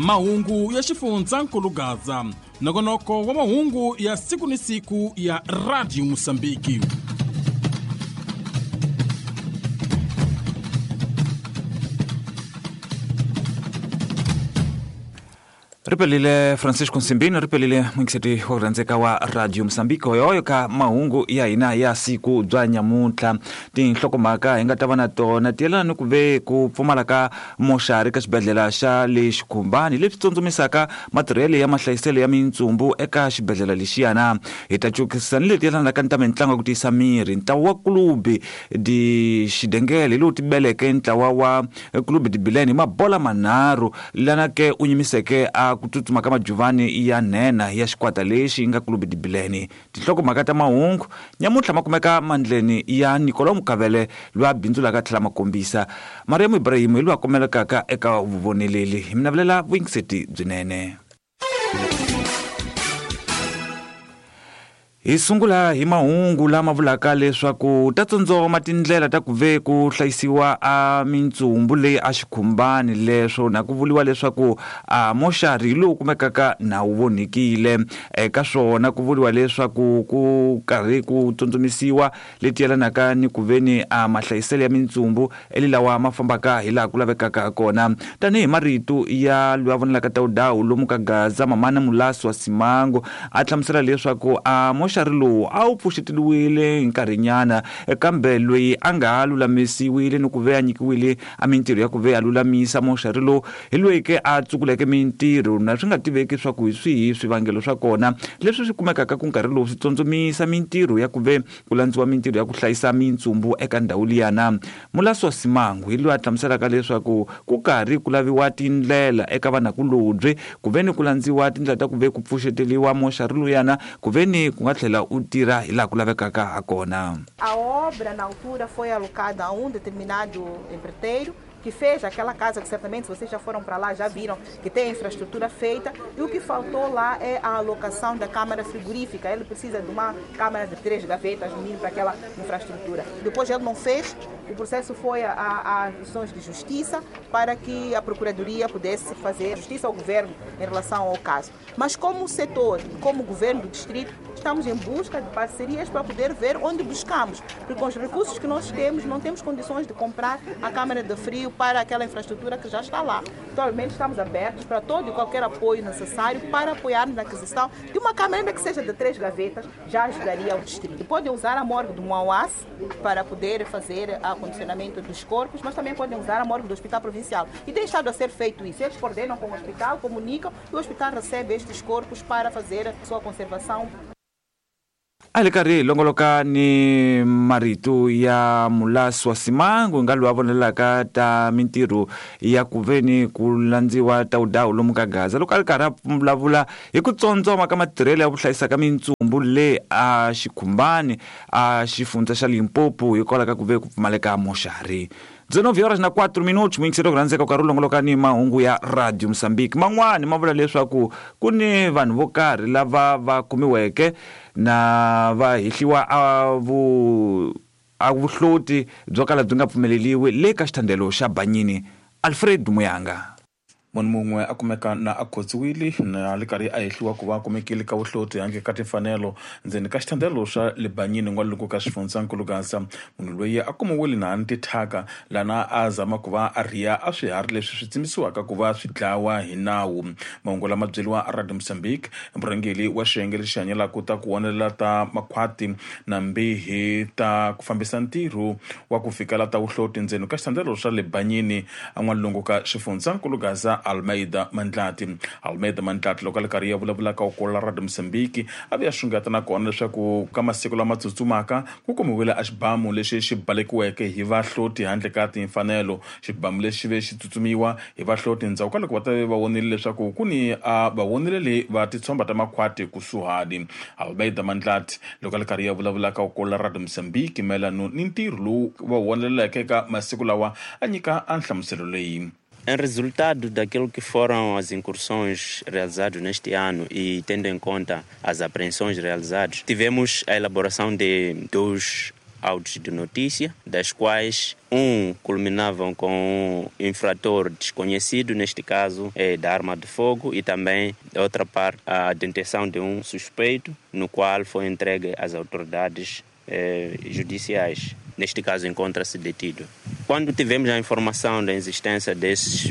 Mahungu ya xifundzankulu Gaza, nongonoko wa mahungu ya siku ni siku ya Radio Mosambiki. Ripelile Francisco Nsimbini, ripelile mwingiseti wa kurhandzeka wa Radio Mosambiki hoyohoyo ka mahungu ya hina ya siku bya nyamuntlha. Tinhlokomhaka hi nga ta va na tona ti yelana ni ku ve ku pfumala ka moxari ka xibedhlele xa le Xikhumbani, leswi tsundzumisaka matirhelo ya mahlayiselo ya mintsumbu eka xibedhlele lexiyana. Hi ta cukisa ni leti yelanaka ni ta mitlangu ya ku tiyisa miri. Ntlawa wa Clube de Xidengele hi lowu tibeleke ntlawa wa Clube de Bilene hi mabola manharhu, lana ke u nyimiseke a ku tsutsuma ka majuvani ya nhenha ya xikwata lexi nga Clube de Bilene. Tinhlokomhaka ta mahungu nyamuntlha ma kumeka mandleni ya Nicolau Mukavele, loyi a bindzulaka a tlhela ma kombisa. Mariam Ibrahim hi loyi a kumelekaka eka vuvoneleli. Hi mi navelela vuyingiseti byinene. Hi sungula hi mahungu lama vulaka leswaku ta tsondzoma tindlela ta ku ve ku hlayisiwa a mintsumbu leyi a xikhumbani, leswo na ku vuriwa leswaku a moxari hi lowu kumekaka na wu vonhikile. Eka swona ku vuriwa leswaku ku karhi ku tsundzumisiwa leti yelanaka ni ku veni a mahlayiselo ya mintsumbu eli lawa ma fambaka hi laha ku lavekaka ha kona. Tanihi marito ya loyi a vonelaka Tawudawu lomu ka Gaza, Mamana Mulasi wa Simango, a hlamusela leswaku a moxari lowu a wu pfuxeteliwile hi nkarhinyana, kambe loyi a nga ha lulamisiwile ni ku ve a nyikiwile a mintirho ya ku ve a lulamisa moxari lowu hi loyi ke a tsukuleke mintirho, na swi nga tiveki swa ku hi swihi swivangelo swa kona leswi swi kumekaka ku nkarhi lowu swi tsondzomisa mintirho ya ku ve ku landziwa mintirho ya ku hlayisa mintsumbu eka ndhawu liyana. Mulasi wa Simangu hi loyi a hlamuselaka leswaku ku karhi ku laviwa tindlela eka vanakulobye ku ve ni ku landziwa tindlela ta ku ve ku pfuxeteliwa moxari luyana ku ve ni ku nga tlhela u tirha hi laha ku lavekaka ha kona. A obra na altura foi alocada a um determinado empreiteiro que fez aquela casa que certamente, se vocês já foram para lá, já viram que tem a infraestrutura feita, e o que faltou lá é a alocação da câmara frigorífica. Ele precisa de uma câmara de 3 gavetas, no mínimo, para aquela infraestrutura. Depois ele não fez, o processo foi a ações de justiça para que a Procuradoria pudesse fazer justiça ao governo em relação ao caso. Mas como setor, como governo do distrito, estamos em busca de parcerias para poder ver onde buscamos, porque com os recursos que nós temos, não temos condições de comprar a câmara de frio para aquela infraestrutura que já está lá. Atualmente estamos abertos para todo e qualquer apoio necessário para apoiar-nos na aquisição de uma câmara, ainda que seja de 3 gavetas, já ajudaria o distrito. Podem usar a morgue do Muauás para poder fazer acondicionamento dos corpos, mas também podem usar a morgue do Hospital Provincial. E tem estado a ser feito isso. Eles coordenam com o hospital, comunicam e o hospital recebe estes corpos para fazer a sua conservação. A hi karhi hi longoloka ni marito ya Mulasi wa Simangu nga loyi a vonelaka ta mintirho ya ku ve ni ku landziwa Tawudawu lomu ka Gaza, loko a ri karhi a vulavula hi ku tsondzoma ka matirhelo ya ku hlayisa ka mintsumbu le a Xikhumbani a xifundza xa Limpopo hikwalaho ka ku ve ku pfumaleka moxari. 19 horas na 4 minutos, muyingiseri ku rhandzeka u karhi u longoloka ni mahungu ya Radio Mozambique. Man'wani ma vula leswaku ku ni vanhu vo karhi lava va kumiweke na va hehliwa a vu a vuhloti byo kala byi nga pfumeleliwi le ka xithandelo xa Banyini. Alfred Muyanga. Munhu mun'we a kumeka na a khotsiwile na le karhi a hehliwa ku va a kumekile ka vuhloti handle ka timfanelo ndzeni ka xithandelo xa le Banyini n'walungu ka xifundzankulu Gaza. Munhu loyi a kumiwile na ni tithyaka lana a zama ku va a rhiya a swiharhi leswi swi tsimisiwaka ku va swi dlawa hi nawu. Mahungu lama byeriwa a Radio Mozambique, murhangeri wa xiyenge lexi hanyelaka ta ku vonelela ta makhwati na mbihi ta ku fambisa ntirho wa ku fikela ta vuhloti ndzeni ka xithandelo xa le Banyini a n'walungu ka xifundzankulu Gaza, Almeida Mandlati. Almeida Mandlati loko a le karhi ya vulavula ka Ukula Radio Mozambique a vuya xungeta na kona leswaku ka masiku lama tsutsumaka ku kumiwile a xibamu lexi xi balekiweke hi vahloti handle ka timfanelo. Xibamu lexi ve xi tsutsumiwa hi vahloti ndzhaku ka loko va ta ve va vonile leswaku ku ni a va vonile le va titshomba ta makhwati kusuhani. Almeida Mandlati loko a le karhi ya vulavula ka Ukula Radio Mozambique mayelano ni ntirho lowu va wu voneleleke eka masiku lawa a nyika a nhlamuselo leyi. Em resultado daquilo que foram as incursões realizadas neste ano e tendo em conta as apreensões realizadas, tivemos a elaboração de 2 autos de notícia, das quais um culminavam com um infrator desconhecido, neste caso é da arma de fogo, e também, da outra parte, a detenção de um suspeito, no qual foi entregue às autoridades judiciais. Neste caso, encontra-se detido. Quando tivemos a informação da existência desses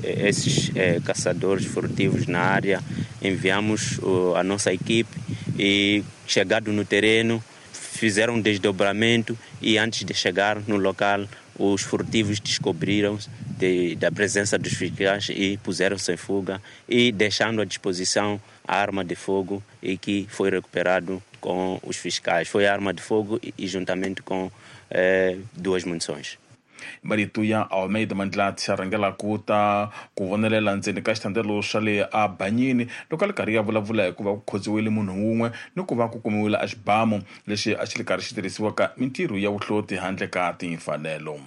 esses caçadores furtivos na área, enviamos a nossa equipe e, chegado no terreno, fizeram um desdobramento e, antes de chegar no local, os furtivos descobriram da presença dos fiscais e puseram-se em fuga, e deixando à disposição a arma de fogo, e que foi recuperado com os fiscais. Foi a arma de fogo e juntamente com 2 munições. Marito ya Almeida Mandlati a rhangela ku ta ku vonelela ndzeni ka xitandelo xa le a Banyini loko a li karhi ya vulavula hi ku va ku khotsiwile munhu wun'we ni ku va ku kumiwile a xibamu lexi a xi li karhi xi tirhisiwaka mintirho ya vuhloti handle ka timfanelo.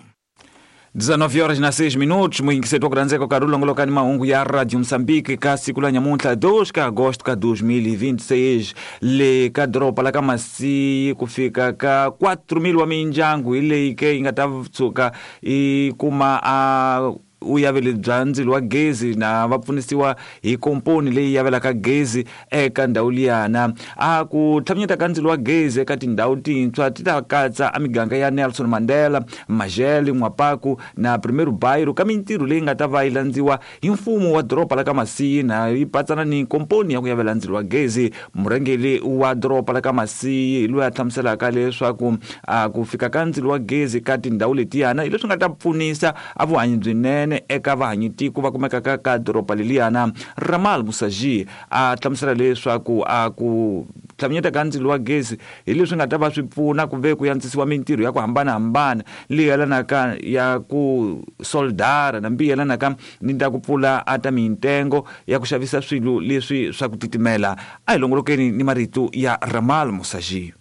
19 horas na 6 minutos, muyingiseti wa ku rhandzeka karhi u longoloka ni mahungu ya Radio Moçambique ka siku la nyamuntlha 2 ka agosto ka 2026 le ka doroba la ka Masiyi ku fika ka 4,000 wa mindyangu hi leyi ke yi nga ta tshuka yi kuma a uyaveli bya ndzilo wa gezi na va pfunisiwa hi komponi leyi yavelaka gezi eka ndhawu liyana. A ku tlhaminyeta ka ndzilo wa gezi eka tindhawu tintshwa ti ta katsa a miganga ya Nelson Mandela, Majele, N'wapaku na Primeiro Bairro ka mintirho leyi nga ta va yi landziwa hi mfumo wa doroba la ka Masiyi na yi patsana ni komponi ya ku yavela ndzilo wa gezi. Murhangeri wa doroba la ka Masiyi loyi a hlamuselaka leswaku a ku fika ka ndzilo wa gezi ka tindhawu letiyana hi leswi nga ta pfunisa a vuhanyi byinene eka vahanyitiko va kumekaka ka doroba leliyana. Ramal Musaji a hlamusela leswaku a ku tlhaminyeta ka ndzilo wa gezi hi leswi nga ta va swi pfuna ku ve ku yantsisiwa mintirho ya ku hambanahambana leyi yelanaka ya ku soldara na mbi yelanaka ni ta ku pfula a ta mintengo ya ku xavisa swilo leswi swa ku titimela. A hi longolokeni ni marito ya Ramal Musaji.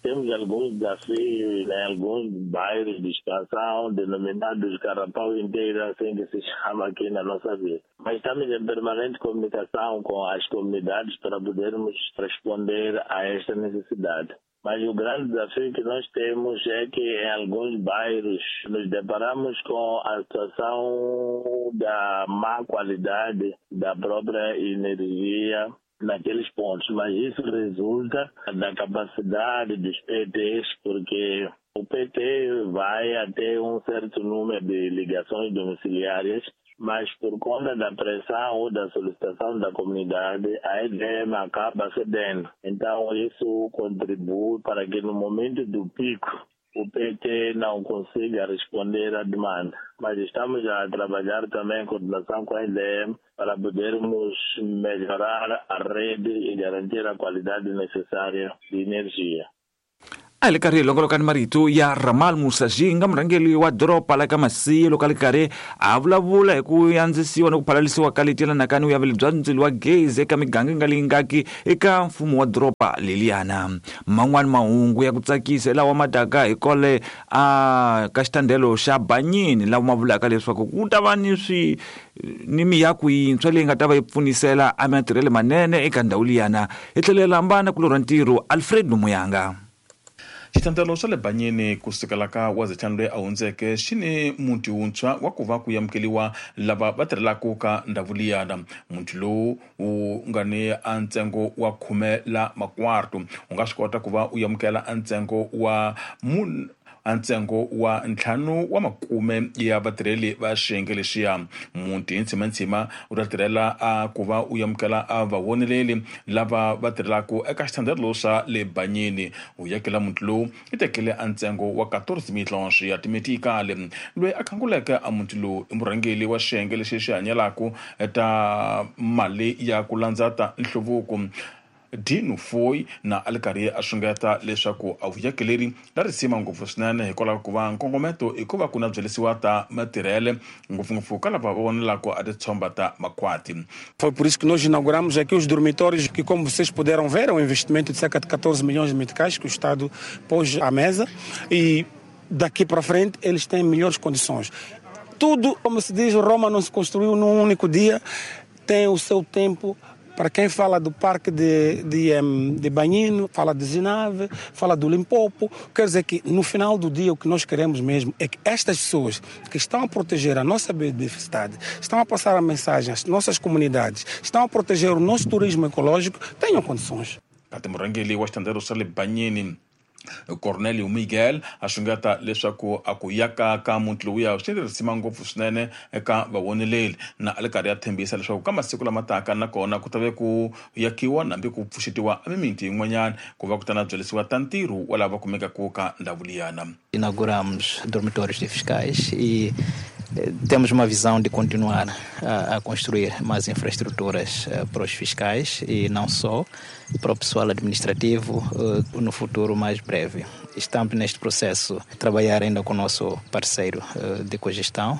Temos alguns desafios em alguns bairros de expansão, denominados Carapau inteiro, assim que se chama aqui na nossa vila. Mas estamos em permanente comunicação com as comunidades para podermos responder a esta necessidade. Mas o grande desafio que nós temos é que em alguns bairros nos deparamos com a situação da má qualidade da própria energia naqueles pontos, mas isso resulta da capacidade dos PTs, porque o PT vai até um certo número de ligações domiciliárias, mas por conta da pressão ou da solicitação da comunidade, a EDM acaba cedendo. Então isso contribui para que no momento do pico o PT não consiga responder à demanda. Mas estamos a trabalhar também em coordenação com a EDM para podermos melhorar a rede e garantir a qualidade necessária de energia. A hi le karhi hi longoloka ni marito ya Ramal Musaji nga murhangeri wa doroba la ka Masiyi loko a li karhi a vulavula hi ku yandzisiwa ni ku phalalisiwa ka leti yelanaka ni vuyaveli bya ndzilo wa gezi eka miganga yi nga lingaki eka mfumo wa doroba leliyana. Man'wani mahungu ya ku tsakisa hi lawa ma taka hi kole a ka xitandelo xa Banyini lawa ma vulaka leswaku ku ta va ni swi ni miako yintshwa leyi nga ta va yi pfunisela a matirhelo manene eka ndhawu liyana. Hi tlhela hambana ku lorha ntirho Alfred Muyanga. Xitandelo xa le Banyini ku sukela ka wazetlhanu loyi a hundzeke xi ni muti wuntshwa wa ku va ku amukeriwa lava va tirhelaka ka ndhawu liyana. Muti lowu wu nga ni a ntsengo wa 10 la makwarto u nga swi kota ku va u amukela a ntsengo wa ntsengo wa 5 wa makume ya vatirheli va xiyenge lexiya. Muti hi ntshimantsima u ta tirhela a ku va u amukela a vavoneleli lava va tirhelaka eka xitandelo xa le Banyini. U yakela muti lowu i tekele a ntsengo wa 14 mitlonxi ya timetikali. Loyi a khanguleke a muti lowu i murhangeri wa xiyenge lexi xi hanyelaka ta mali ya ku landza ta nhluvuko Dino Foy na a li karhi a xungeta leswaku a vuyakeleri la risima ngopfu swinene hikwalaho ku va nkongometo i ku va ku na byelisiwa ta matirhele ngopfungopfu ka lava va vonelaka a titshomba ta makhwati. Foi por isso que nós inauguramos aqui os dormitórios, que, como vocês puderam ver, é um investimento de cerca de 14 milhões de meticais que o Estado pôs à mesa, e daqui para frente eles têm melhores condições. Tudo, como se diz, Roma não se construiu num único dia, tem o seu tempo Para quem fala do Parque de Banhino, fala de Zinave, fala do Limpopo, quer dizer que no final do dia o que nós queremos mesmo é que estas pessoas que estão a proteger a nossa biodiversidade, estão a passar a mensagem às nossas comunidades, estão a proteger o nosso turismo ecológico, tenham condições. Kati murhangeri wa xitandero xa le Banyini Cornelio Miguel a xungeta leswaku a ku yaka ka muti lowuya swi ni risima ngopfu swinene eka vavoneleli na a le karhi ya tshembisa leswaku ka masiku lama taka nakona ku ta ve ku yakiwa nambi ku pfuxetiwa emimiti yin'wanyana ku va ku ta na byelisiwa ta ntirho wa lava kumekaka ka ndhawu liyana. Inauguramos dormitórios de fiscais e temos uma visão de continuar a construir mais infraestruturas para os fiscais e não só, para o pessoal administrativo no futuro mais breve. Estamos neste processo a trabalhar ainda com o nosso parceiro de cogestão,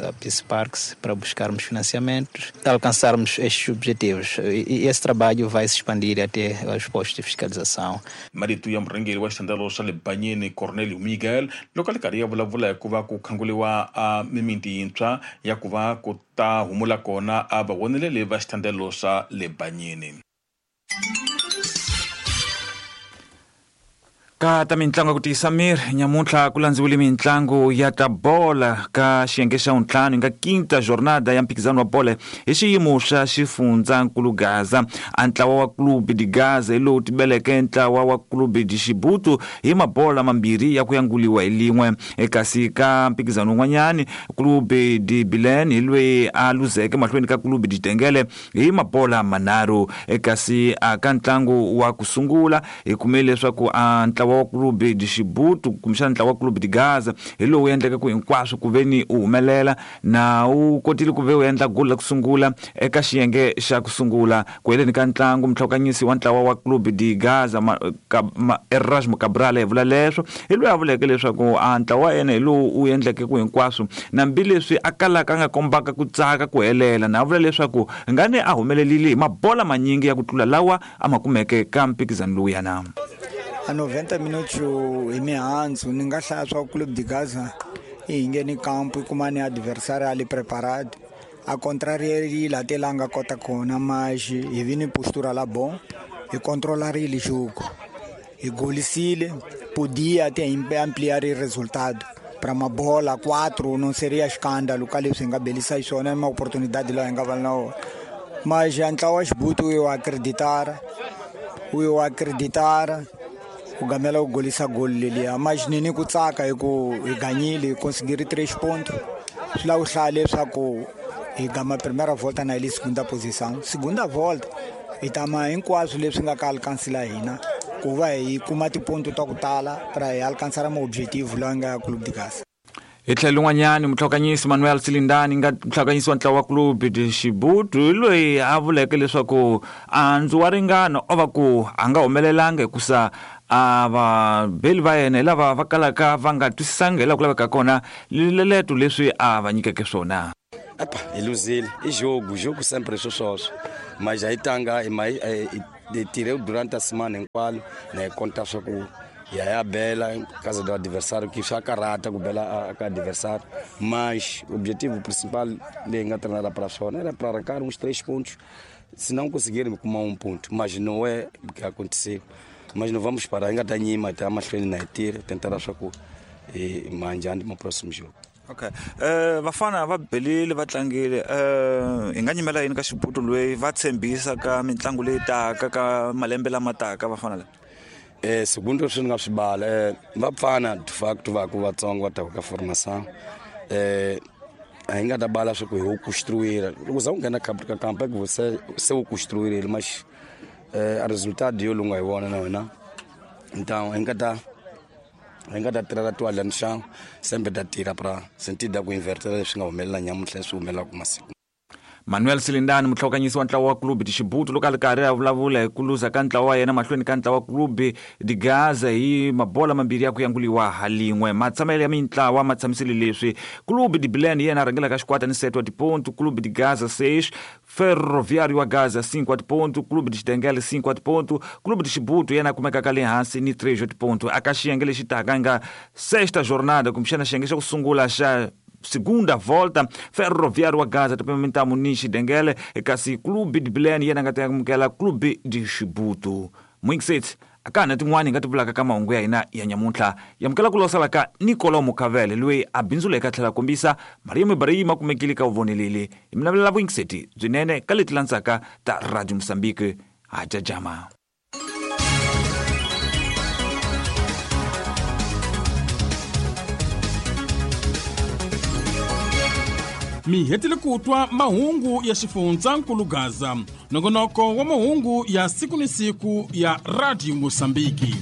a Peace Parks, para buscarmos financiamentos, alcançarmos estes objetivos. E esse trabalho vai se expandir até aos postos de fiscalização. Marito ya murhangeri wa xitandalo xa le Banyini Cornelio Miguel loko a le karhi ya vulavula hi ku va ku khanguriwa a mimiti yintshwa ya ku va ku ta humula kona a vavoneleli va xitandelo xa le Banyini. Ka ta mintlangu ya ku tiyisa miri nyamuntlha ku landziwile mintlangu ya ta bola ka xiyenge xa vuntlhanu nga quinta jornada ya mphikizano wa bola hi xiyimo xa xifundzankulu Gaza. A ntlawa wa Clube de Gaza hi lowu tibeleke ntlawa wa Clube de Xibutu hi mabola mambirhi ya ku yanguliwa hi lin'we. Kasi ka mphikizano wun'wanyani Clube de Bilen hi loyi a luzeke mahlweni ka Clube de Tengele hi mabola manharhu. Kasi ka ntlangu wa ku sungula hi kume leswaku a ntlawa wa Clube de Xibutu kumbexana ntlawa wa Clube de Gaza hi lowu endleke ku hinkwaswo ku ve ni u humelela na wu kotile ku ve u endla goli la ku sungula eka xiyenge xa ku sungula. Ku heleni ka ntlangu mutlhokanyisi wa ntlawa wa Clube de Gaza Erasmo Cabral hi vula leswo hi loyi a vuleke leswaku a ntlawa wa yena hi lowu wu endleke ku hinkwaswo nambileswi a kalaka a nga kombaka ku tsaka ku helela, na a vula leswaku ngane a humelelile hi mabola manyingi ya ku tlula lawa a ma kumeke ka mphikizano lowuyana. A 90 minutos hi mihandzu ni nga hlaya swa Clube de Gaza i hi ngheni kampo i kuma ni adversário ali preparado a contrarierile até lá nga kota kona mas hi vi ni postura la bom hi controlarile jogo hi golisile podia até ampliar o resultado para uma bola 4 não seria escândalo ka leswi hi nga belisa xiswona uma oportunidade lá hi nga va na wona mas ntlawa wa Xibutu eu acreditar u gamela u golisa goli leliya mas ni ni ku tsaka hi ku hi ganyile hi conseguir 3 pontos swi lava u hlaya leswaku hi gama primeira volta na hi le segunda posição segunda volta hi tama hinkwaswo leswi nga ka alcansila hina ku va hi kuma tiponto ta ku tala para hi alcançar ma objetivo lawa nga ya Clube de Gaza. Hi tlhelo lin'wanyani mutlhokanyisi Manuel Silindani nga mutlhokanyisi wa ntlawa wa Clube de Xibutu hi loyi a vuleke leswaku andzu wa ringana o va ku a nga humelelanga hikusa a vabeli va yena hi lava va kalaka va nga twisisanga hi laha ku laveka kona leleto leswi a va nyikeke swona. Epa, hi luzile i jogo sempre swo swoswo mas a hi tanga hi tirhe durante a semana hinkwalo na hi konta swa ku ya bela casa do adversário que swa karata ku bela ka adversário mas o objetivo principal leyi nga treinar para swona era para arrancar uns 3 pontos se não conseguirmos kuma 1 ponto mas não é o que aconteceu mas não vamos parar hi nga ta nyima ta mahlweni na hi tirha tentar swa ku hi manjhani mo próximo jogo. Okay. Vafana va belile va tlangile hi nga nyimela yini ka Xibutu loyi va tshembisa ka mitlangu leyi taka ka malembe lama taka vafana lava? Segundo swi nga swi bala va pfana de facto va ku vatsongo va ta ka formação a hi nga ta bala swa ku hi construir loko za u nghena ka campo que você se u construir mas a resultado yo lunga hi vona na wena então hi nga ta tirha toalha no chão sempre ta tirha para sentido da ku inverter leswi nga humelela nyamuntlha swi humelelaka masiku. Manuel Silindani mutlhokanyisi wa ntlawa wa Clube de Xibutu loko a ri karhi a vulavula hi ku luza ka ntlawa wa yena mahlweni ka ntlawa wa Clube de Gaza hi mabola mambirhi ya ku yanguliwa ha lin'we. Matshamelo ya mintlawa ma tshamisile leswi Clube de Bilen hi yena a rhangelaka xikwata ni 7 wa tiponto, Clube de Gaza 6, Ferroviário wa Gaza 5 wa tiponto, Clube de Xidengele 5 wa tiponto, Clube de Xibutu yena a kumekaka le hansi ni 3 wa tiponto. Aka xiyenge lexi taka nga sexta jornada kumbexana xiyenge xa ku sungula xa Segunda volta, Ferroviário wa Gaza ta pimenta Munishi Dengele, kasi Clube de Bilene yena nga ta amukela Clube de Chibuto. Mwingisetsi akana tin'wani hi nga ti vulaka ka mahungu ya hina ya nyamuntlha. Yamukela ku losala ka Nicolau Mukavele loyi a bindzuleke a tlhela a kombisa Mariam Ibrahim a kumekile ka vuvoneleli. Hi mi navelela vuyingiseti byinene ka leti landzaka ta Radio Mozambique. Ha jajama. Mi hetile ku twa mahungu ya xifundzankulu Gaza, nongonoko wa mahungu ya siku ni siku ya Radio Mosambiki.